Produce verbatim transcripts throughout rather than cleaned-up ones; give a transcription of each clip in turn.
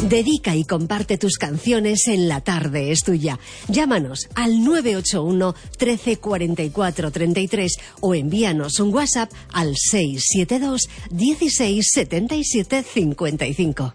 Dedica y comparte tus canciones en La Tarde es Tuya. Llámanos al nueve ocho uno, trece, cuarenta y cuatro, treinta y tres o envíanos un WhatsApp al seis siete dos, dieciséis, setenta y siete, cincuenta y cinco.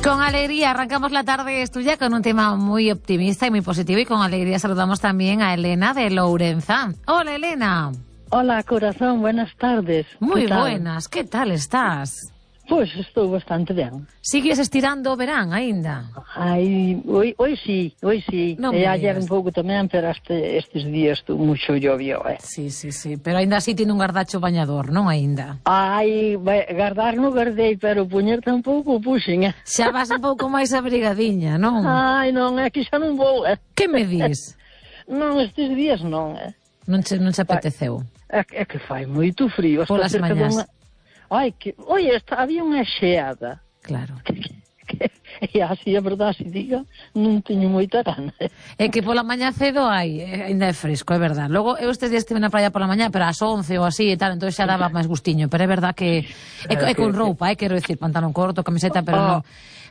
Con alegría arrancamos La Tarde es Tuya con un tema muy optimista y muy positivo, y con alegría saludamos también a Elena de Lourenza. Hola, Elena. Hola, corazón, buenas tardes. Muy buenas, ¿qué tal estás? Pois estou bastante ben. Sigues estirando o verán aínda? Ai, hoy, hoy sí, hoy sí. Non e me ayer digas. un pouco tamén, pero este, estes días estou mucho llovio, eh. Sí, sí, sí, pero aínda así tiene un gardacho bañador, non aínda? Ai, vai, gardar non gardei, pero puñer tampouco puxen, eh. Xa vas un pouco máis abrigadiña, non? Ai, non, é que xa non vou, eh. Que me dis? Non, estes días non, eh. Non che, non che apeteceu? É, é que fai moito frío. Hasta Polas cerca mañás. dunha... Ai, que... Oi, esta... había unha xeada. Claro. E así, a verdade, se diga, non teño moita gana. É que pola mañá cedo hai, eh, ainda é fresco, é verdad. Logo, eu estes días estive na praia pola mañá, pero ás once ou así e tal, entón xa daba máis gustiño, pero é verdad que é, é con roupa, é, quero dicir, pantalón corto, camiseta, pero non...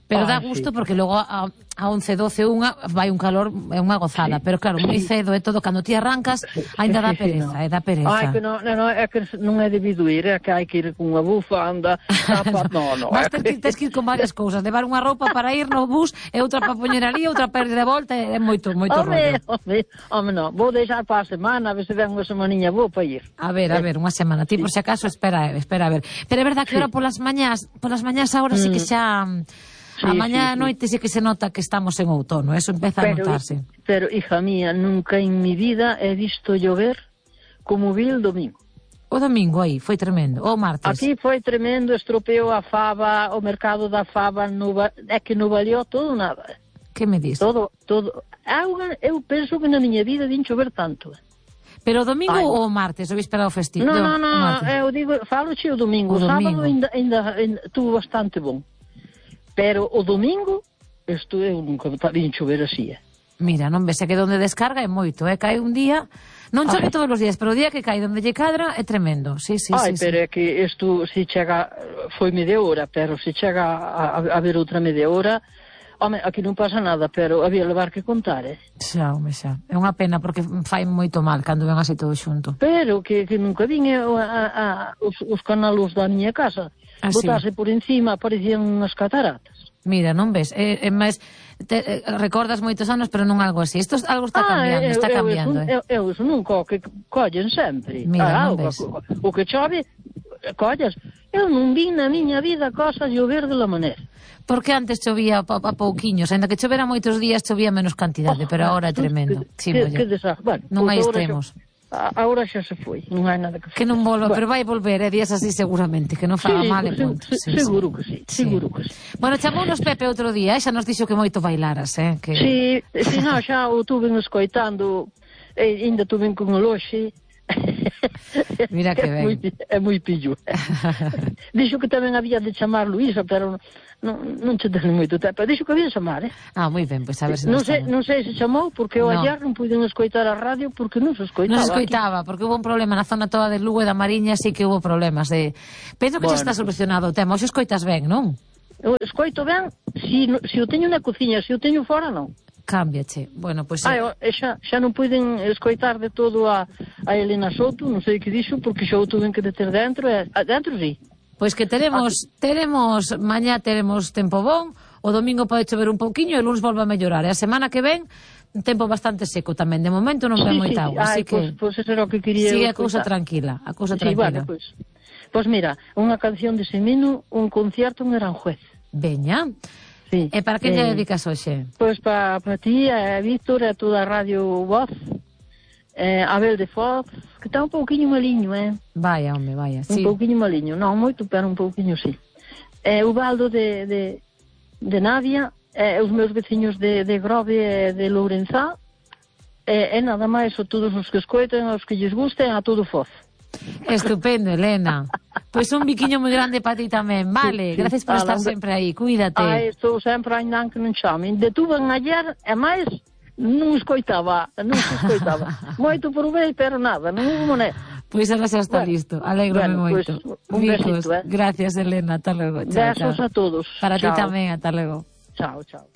Pero dá gusto porque logo a, a once, doce, unha vai un calor, é unha gozada, pero claro, moi cedo é todo, cando ti arrancas, ainda dá pereza, é dá pereza. Ai, que non, non, é que non é debido ir, é que hai que ir con unha bufanda, tapa, no, no. Vas ter que, tes que ir con varias cousas, levar unha roupa para ir no bus, e outra para poñer ali, outra para ir de volta, é moito, moito rollo. Home, home, non, vou deixar para a semana, a ver se ven unha semaninha boa para ir. A ver, a ver, unha semana, ti por si acaso espera, espera a ver. Pero é verdad que ahora polas mañás, polas mañás agora sí que xa... Sí, a mañá sí, a noite sí que se nota que estamos en outono, eso empeza a pero, notarse. Pero, hija mía, nunca en mi vida he visto llover como vi el domingo. O domingo aí foi tremendo, o martes. Aquí foi tremendo, estropeou a fava, o mercado da fava, no, é que non valió todo nada. Que me dis? Todo, todo. Auga, eu penso que na miña vida din chover tanto. Pero o domingo Ai. ou o martes, ou víspera o festivo? Non, non, non, eu digo, falo che o domingo, o sábado ainda, ainda, ainda tuvo bastante bom. Pero o domingo, isto eu nunca vin chover así, eh. Mira, non ves, é que donde descarga é moito, é, cae un día, non chove todos os días, pero o día que cae donde lle cadra é tremendo, sí, sí, Ai, sí. pero sí. é que isto, se chega, foi media hora, pero se chega a, a, a ver outra media hora, home, aquí non pasa nada, pero había levar que contar, eh. Xa, home, xa. É unha pena porque fai moito mal cando ven así todo xunto. Pero que, que nunca vin a, a, a, os, os canalos da miña casa. Ah, Botase sí. por encima, parecían unhas cataratas. Mira, non ves? É, é máis, te, eh, recordas moitos anos, pero non algo así. Isto algo está cambiando, ah, está eu, cambiando. Eu, eu, eu iso nunca, o que collen sempre. Mira, ah, non o, ves? o, o que chove, collas. Eu non vi na miña vida cosas llover de la maneira. Porque antes chovía a, a pouquiños, ainda que chovera moitos días, chovía menos cantidade, Oh, pero agora é tremendo. Que, Sí, que, molla. que desastre. Bueno, Non hai pois agora extremos. Xa, agora xa se foi, non hai nada que facer. Que non volva, Bueno. pero vai volver, é días así seguramente, que non faga Sí, mal e sí, punto. sí, seguro que sí, seguro que sí. Bueno, chamounos Pepe outro día, e xa nos dixo que moito bailaras, eh? Que... Sí, si non, xa o tuve escoitando, e ainda tuve con o loxe. Mira que ben. É moi, é moi pillo. Dixo que tamén había de chamar Luísa, pero non, non che ten moito tempo. Dixo que había de chamar, eh? Ah, moi ben, pois pues a ver se non nos sei, chama. non sei se chamou, porque eu No. ayer non puiden escoitar a radio porque non se escoitaba. Non se escoitaba, porque hubo un problema na zona toda de Lugo e da Mariña, sí que hubo problemas de... Penso que Bueno, xa está solucionado o tema, hoxe escoitas ben, non? Eu escoito ben, se si, si o teño na cociña, se si o teño fora, non. Cámbiache. Bueno, pois... Ah, eu, xa, xa non puiden escoitar de todo a, a Elena Soto, non sei que dixo, porque xa o tuven que deter dentro, e a, dentro sí. Pois que teremos, teremos, mañá teremos tempo bon, o domingo pode chover un pouquiño e o lunes volve a mellorar. E a semana que ven, un tempo bastante seco tamén. De momento non Sí, ven sí, moita agua, así ai, que... Pois, pois eso era o que quería Sigue eu a cousa escoitar. tranquila, a cousa Sí, tranquila. bueno, pois, pois mira, unha canción de Semino, un concierto en Aranjuez. Veña. Sí. E para que lle Eh, dedicas hoxe? Pois para pa ti, a Víctor, a toda a Radio Voz, eh, Abel de Foz, que está un pouquiño maliño, eh? Vaya, home, vaya, Un sí. pouquiño maliño, non moito, pero un pouquiño sí. Eh, o Baldo de, de, de Navia, eh, os meus veciños de, de Grove e de Lourenza, e, e nada máis, a todos os que escoiten, aos que lles gusten, a todo Foz. Estupendo, Elena. Pois un biquiño moi grande para ti tamén, vale? Sí, sí. Gracias por Ah, estar non, sempre aí, cuídate. Ai, estou sempre ainda que non chamen. De tuve ayer, e máis, non escoitaba, non se escoitaba. Moito provei, pero nada, non hubo mané. Pois ahora xa está Bueno, listo. Alégrome bueno, moito. Pues, un Bicos. besito, eh. Gracias, Elena. Ata logo. Chao, Besos chao. a todos. Para ti Chao. tamén. Ata logo. Chao, chao.